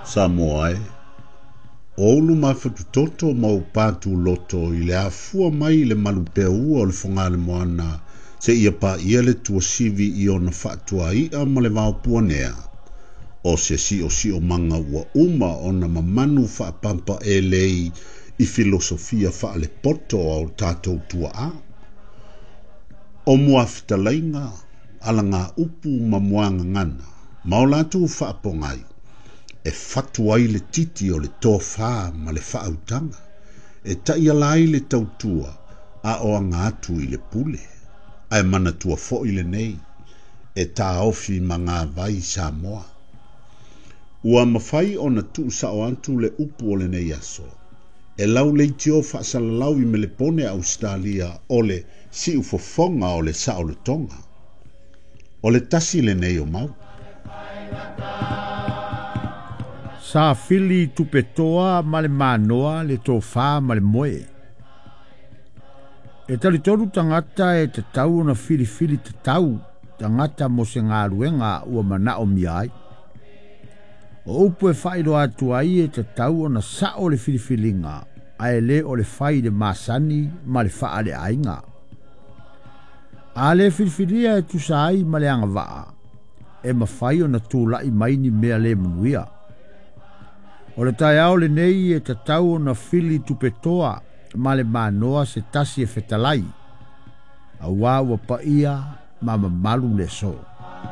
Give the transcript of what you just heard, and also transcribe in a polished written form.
Samoa e, o ulu mafatutoto ma ou patuloto i le afua mai i le malupeaua o le Fogalemoana seia paia le tuasivi i ona faatuai'a ma le vaopuanea, o se siosiomaga ua uma ona mamanu faapampaelei i filosofia faalepoto a o tatou tuaa. O muafetalaiga, alagaupu ma muagagana, ma o latou faapogai, e fatu ai le titi o le tofā ma le faautaga, e taiala ai le tautua a o aga atu i le pule. Ae manatua foi lenei, e taofi magavai Samoa. Ua mafai ona tuusao atu le upu o lenei aso, e lauleitio faasalalau i Melepone Ausetalia o le siufofoga o le saolotoga. O le tasi lenei o mau. Sa fili tupetoa ma le manoa le tofā ma le moe. E talitonu tagata e tatau ona filifili tatau tagata mo se galuega ua manaomia ai. O upu e faailoa atu ai e tatau ona sao le filifiliga ae lē o le fai i le masani ma le faaleaiga. A lē filifilia e tusa ai ma le agavaa, e mafai ona tula'i mai ni mea lē manuia. O le taeao lenei e tatau ona fili tupetoa ma le manoa se tasi e fetalai, auā ua paia ma mamalu le aso.